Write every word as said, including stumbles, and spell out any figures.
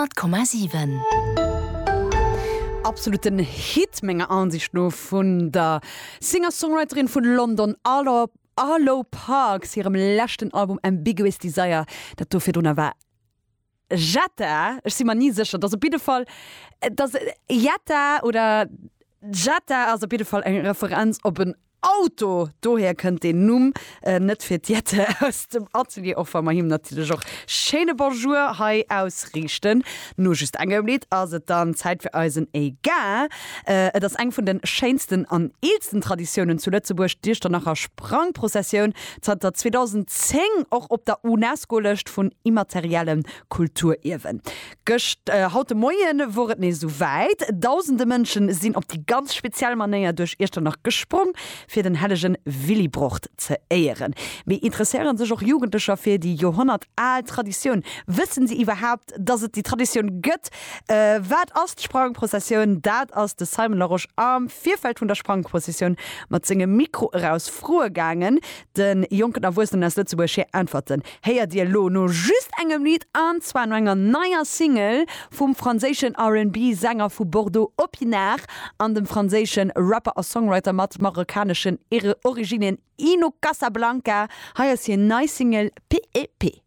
Honnert Komma siwen. Absoluten Hit menger Ansicht no vun der Singer-Songwriterin vun London Arlo Arlo Parks hirem leschten Album Ambiguous Desire. Dat do virdrunner war Jetta, ech si mer ni sécher, dat ass op jidde Fall, dat Jetta oder Jetta ass op jidde Fall eng Referenz op en Auto, dohier kënnt deen Numm, net fir d'Jette aus dem Atelier, och wa mer him natierlech och schéine Bonjour hei ausriichten. No just engem Lidd ass et dann Zäit fir eisen Egal. Et ass eng vun de schéinsten an eelsten Traditiounen zu Lëtzebuerg, d'Iechternacher Sprangprozessioun, zanter zweedausendzéng och op der UNESCO-Lëscht vun immateriellem Kulturierwen. Gëscht, haut de Moien wor et nees esou wäit, Dausende Mënschen sinn op déi ganz speziell Manéier duerch Iechternach gesprong, fir den hellegen Willibrord ze éieren. Mee interesséieren sech och Jugendlecher fir déi Joerhonnert al Traditioun? Wëssen si iwwerhaapt, dass et déi Traditioun gëtt? Wat ass d'Sprangprozessioun? Dat ass de Simon Larosche am Virfeld vun der Sprangprozessioun mat sengem Mikro eraus froe gaangen. De jonken Erwuessenen aus Lëtzebuerg hir Äntwerten héiert Dir elo no just engem Lidd, an zwar no enger neier Single vum franséischen R&B-Sänger vu Bordeaux Opinard an dem franséische Rapper a Songwriter mat marokkaneschen Originnen Ino Casablanca. Hei ass hir nei Single P E P.